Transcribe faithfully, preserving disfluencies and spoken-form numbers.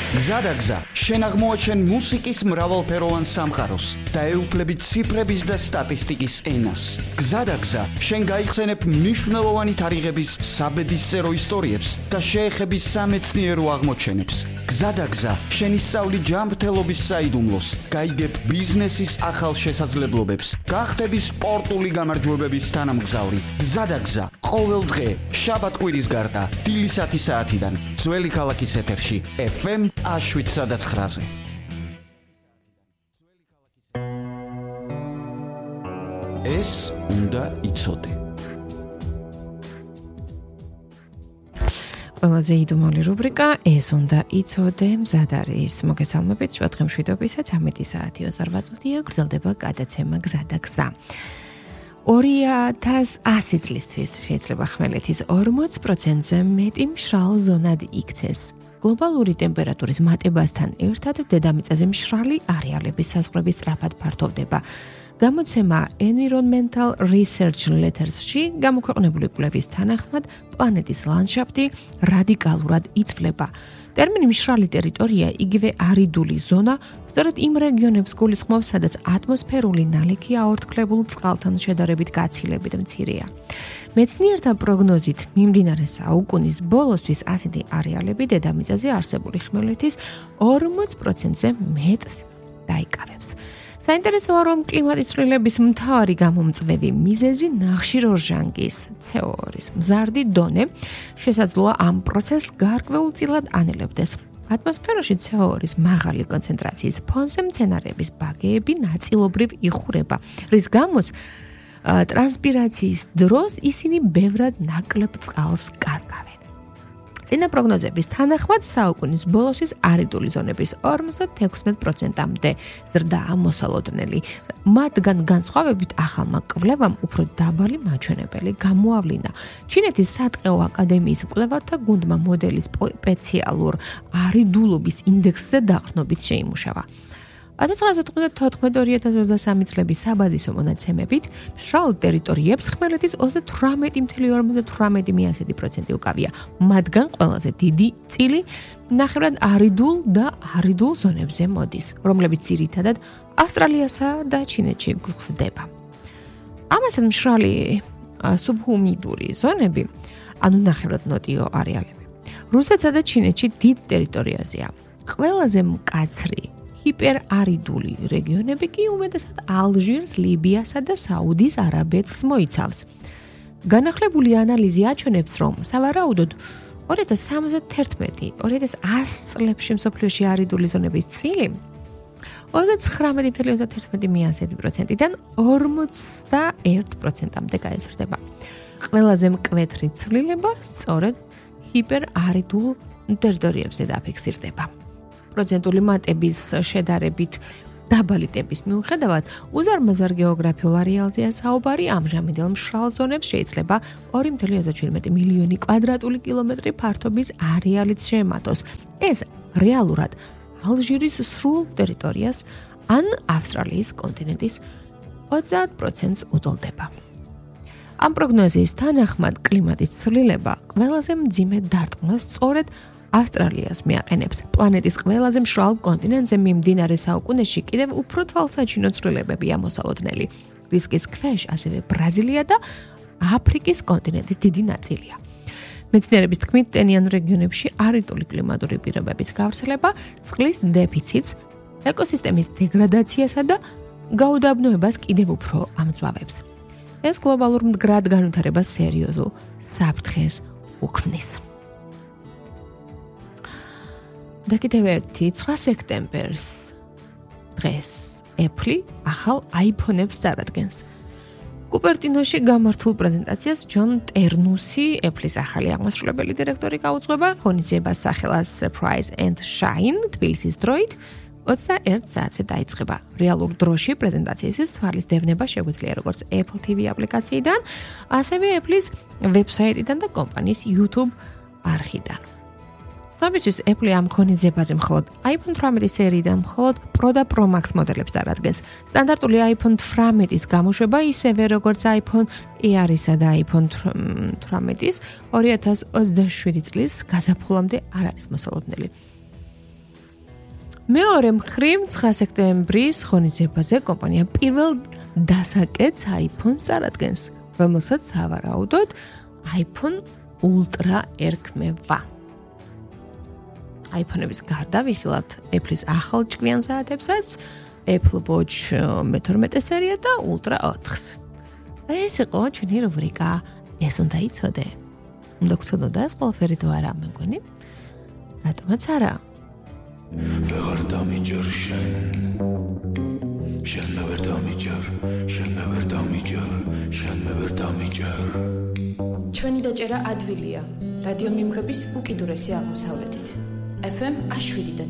გზადაგზა, შენ აღმოაჩენ მუსიკის მრავალფეროვან სამყაროს და ეუფლები ციფრების და სტატისტიკის ენას. გზადაგზა, შენ გაიხსენებ მნიშვნელოვანი თარიღების საბედისწერო ისტორიებს და შეეხები სამეცნიერო აღმოჩენებს. გზადაგზა, შენ ისწავლი ჯანმრთელობის საიდუმლოს, გაიგებ ბიზნესის ახალ შესაძლებლობებს, გახდები სპორტული გამარჯვებების თანამგზავრი. გზადაგზა, ყოველ დღე, შაბათ-კვირის გარდა, დილის ათი საათიდან, ძველი ქალაქის ეთერში, ეფ ემ შვიდ ცხრაზე. ეს უნდა იცოდე. ყველაზე იდუმალი რუბრიკა ეს უნდა იცოდე მზად არის. მოგესალმებით, შუადღე მშვიდობისა ცამეტი საათი ოცდაოთხ წუთია გრძელდება გადაცემა გზადაგზა. ორი ათას ასი წლისთვის შეიძლება ხმელეთის ორმოც პროცენტზე მეტი მშრალ ზონად იქცეს. გლობალური ტემპერატურის მატებასთან ერთად დედამიწაზე მშრალი არეალების საზღვრები სწრაფად ფართოვდება. გამოცემა Environmental Research Letters-ში გამოქვეყნებული კვლევის თანახმად პლანეტის ლანდშაფტი რადიკალურად იცვლება. ტერმინი მშრალი ტერიტორია იგივე არიდული ზონა სწორედ იმ რეგიონებს გულისხმობს, სადაც ატმოსფერული ნალექი აორთქლებულ წყალთან შედარებით გაცილებით მცირეა. მეცნიერთა პროგნოზით მიმდინარე საუკუნის ბოლოსთვის ასეთი არეალები დედამიწაზე არსებული ხმელეთის ორმოც პროცენტზე მეტს დაიკავებს. საინტერესოა, რომ კლიმატის ცვლილების მთავარი გამომწვევი მიზეზი ნახშირორჟანგის ცე ო ორის მზარდი დონე შესაძლოა ამ პროცესს გარკვეულწილად ანელებდეს. ატმოსფეროში ცე ო ორის მაღალი კონცენტრაციის ფონზე მცენარეების ბაგეები ნაწილობრივ იხურება, რის გამოც ტრანსპირაციის დროს ისინი ბევრად ნაკლებ წყალს კარგავენ. წინა პროგნოზების თანახმად საუკუნის ბოლოსთვის არიდული ზონების ორმოცდაექვსმეტ პროცენტამდე ზრდაა მოსალოდნელი. მათგან განსხვავებით ახალმა კვლევამ უფრო დაბალი მაჩვენებელი გამოავლინა. ჩინეთის სატყეო აკადემიის მკვლევართა გუნდმა მოდელის სპეციალურ არიდულობის ინდექსზე დაყრდნობით შეიმუშავა. ათას ცხრაასი ოთხმოცდათოთხმეტ ორი ათას ოცდასამი წლების საბაზისო მონაცემებით მშრალ ტერიტორიებს ხმელეთის ოცდათვრამეტი ფاصლე ორმოცდათვრამეტი პროცენტი უკავია. მათგან ყველაზე დიდი წილი ნახევრად არიდულ და არიდულ ზონებზე მოდის, რომლებიც ძირითადად ავსტრალიასა და ჩინეთში გვხვდება. ამასთან მშრალი სუბჰუმიდური ზონები, ანუ ნახევრად ნოტიო არეალები, რუსეთსა და ჩინეთში დიდ ტერიტორიაზეა. ყველაზე მკაცრი ჰიპერარიდული რეგიონები კი უმეტესად ალჟირს, ლიბიასა და საუდის არაბეთს მოიცავს. განახლებული ანალიზი აჩვენებს, რომ სავარაუდოდ ორი ათას სამოცდაერთმეტი ორი ათას ასი წლებში მსოფლიოში არიდული ზონების წილი ოცდაცხრამეტი ფაصლე ოცდაერთმეტი პროცენტიდან ორმოცდაერთ პროცენტამდე გაიზრდება. ყველაზე მკვეთრი ცვლილება სწორედ ჰიპერარიდულ ტერიტორიებზე დაფიქსირდება. პროცენტული მატების შედარებით დაბალი ტემპის მიუხედავად, უზარმაზარ გეოგრაფიულ არეალზეა საუბარი, ამჟამინდელ მშრალ ზონებს შეიძლება ორი ფაصლე ოცდაშვიდი მილიონი კვადრატული კილომეტრი ფართობის არეალიც შეემატოს. ეს რეალურად ალჟირის სრულ ტერიტორიას ან ავსტრალიის კონტინენტის ოცდაათ პროცენტს უტოლდება. ამ პროგნოზის თანახმად კლიმატის ცვლილება ყველაზე მძიმე დარტყმას სწორედ ავსტრალიას მიაყენებს. პლანეტის ყველაზე მშრალ კონტინენტზე მიმდინარე საუკუნეში კიდევ უფრო თვალსაჩინო ცვლილებებია მოსალოდნელი. რისკის ქვეშ ასევე ბრაზილია და აფრიკის კონტინენტის დიდი ნაწილია. მეცნიერების თქმით, ტენიან რეგიონებში არიდული კლიმატური პირობების გავრცელება წყლის დეფიციტს, ეკოსისტემის დეგრადაციასა და გაუდაბნოებას კიდევ უფრო ამძვავებს. ეს გლობალურ მდგრად განვითარებას სერიოზულ საფრთხეს უქმნის. და კიდევ ერთი ცხრა სექტემბერს დღეს Apple ახალ iPhone-ებს წარადგენს. კუპერტინოში გამართულ პრეზენტაციას ჯონ ტერნუსი, Apple-ის ახალი აღმასრულებელი დირექტორი გაუძღვება, ღონისძიებას სახელას Surprise and Shine თბილისის დროით ოცდაერთ საათზე დაიწყება. რეალურ დროში პრეზენტაციისთვის თვალის დევნება შეგვიძლია როგორც Apple τι ვი აპლიკაციიდან, ასევე Apple-ის ვებსაიტიდან და კომპანიის YouTube არხიდან. ცნობისთვის Apple ამ ღონისძიებაზე მხოლოდ iPhone თვრამეტი სერიიდან მხოლოდ Pro და Pro Max მოდელებს წარადგენს. სტანდარტული iPhone თვრამეტის გამოშვება ისევე როგორც iPhone Air-ისა და iPhone თვრამეტის ორი ათას ოცდაშვიდი წლის გაზაფხულამდე არ არის მოსალოდნელი. მეორე მხრივ ცხრა სექტემბრის ღონისძიებაზე კომპანია პირველ დასაკეთს iPhone-ს წარადგენს, რომელსაც სავარაუდოდ iPhone Ultra ერქმევა. iPhone-ების გარდა ვიხილავთ Apple-ის ახალ ჭკვიან საათებსაც, Apple Watch მეთორმეტე სერია და Ultra ოთხს. ეს იყო ჩვენი რუბრიკა ეს უნდა იცოდე. უნდა გცოდოდა ეს ყველაფერი თუ არა, მეგონი? რატომაც არა? ვეღარ დამიჯერ შენ შენ მე ვერ დამიჯერ შენ მე ვერ დამიჯერ შენ მე ვერ დამიჯერ ჩვენი დაჭერა ადვილია რადიო მიმღების უკიდურესი აღმოსავლეთით F M აშ შვიდი და